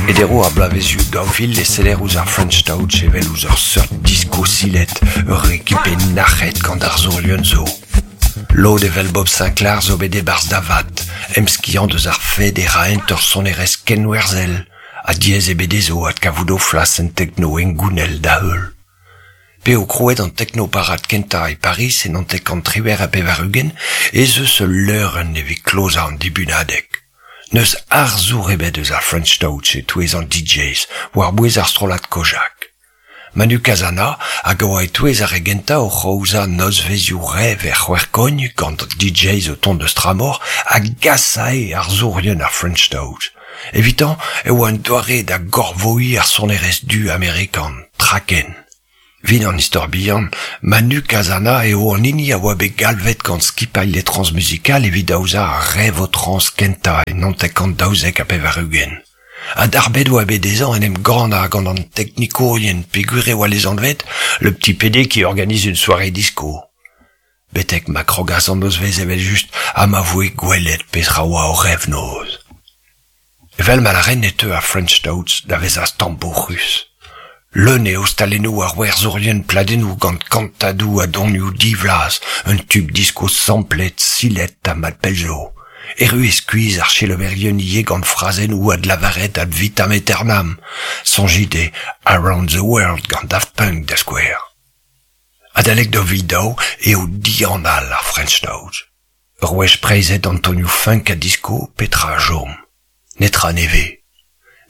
E deroù ar bloavezhioù 2000 e seller ouzh ar French Touch evel ouzh ur seurt disko silet, ur rekipe nac'het gant arzourien zo. Lod evel Bob Sinclair zo bet e-barzh da vat, emskiant eus ar fed e raent ur sonerezh kenwerzhel, ha diaes eo bet dezho adkavout o flas en tekno hengounel da-heul. P'eo krouet an teknoparad kentañ e Pariz e 1998 ez eus ul leurenn evit klozañ an dibunadeg. N'eus arzour ebet eus ar French Touch e-touez an DJs, war-bouez ar strollad Kojak. Manu Cazana hag a oa e-touez ar re gentañ oc'h aozañ nozvezhioù rev er C'hwec'hkogn gant DJs o tont eus tramor a gasae arzourien ar French Touch. Evitañ e oa un doare da gorvoiñ ar sonerezh du amerikan, traken. Evit an istor bihan, Manu Cazana eo an hini a oa bet galvet gant skipailh Les Transmusicales evit aozañ ar rev-o-trans kentañ e 1992. Ha darbet oa bet dezhañ en em gannañ gant an teknikourien peogwir e oa lesanvet le petit PD qui organise une soirée disco. Betek ma krogas an nozvezh evel-just ha ma voe gwelet petra oa o rev-noz. Evel ma lâren e teu ar French Touch da vezañ stambouc'hus. Leun eo stalennoù ar werzourien pladennoù gant kantadoù a donioù divlaz, un tub disko samplet, silet ha mat pell zo. Erru eo skuizh ar selaouerien ivez gant frazennoù adlavaret ad vitam aeternam. Soñjit e Around the World gant Daft Punk da skouer. Adalek 2002 eo dianal ar French Touch. Ur wech preizhet an tonioù funk ha disco, petra a chom? Netra nevez.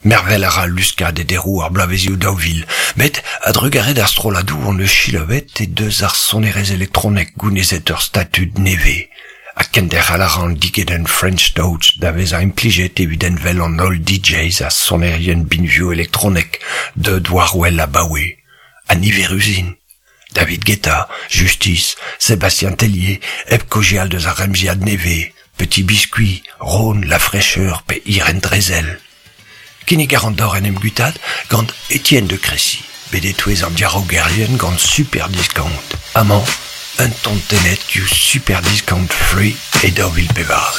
Mervel a ra luskad e deroù ar bloavezhioù 2000, met a-drugarez d'ar strolladoù hon eus selaouet he deus ar sonerezh elektronek gounezet ur statud nevez. Ha kenderc'hel a ra an digedenn French Touch da vezañ implijet evit envel an holl DJs ha sonerien binvioù elektronek deuet war-wel abaoe. Ha niverus int. David Guetta, Justice, Sébastien Tellier, hep kaozeal deus ar remziad nevez, Petit Biscuit, Rhône, La Fraîcheur pe Irène Drezel. Kinnig a ran deoc'h en em guitaat gant Étienne de Crécy, bet e-touez an diaraogerien gant Super Discount. Amañ, un ton tennet diouzh Super Discount Free e 2014.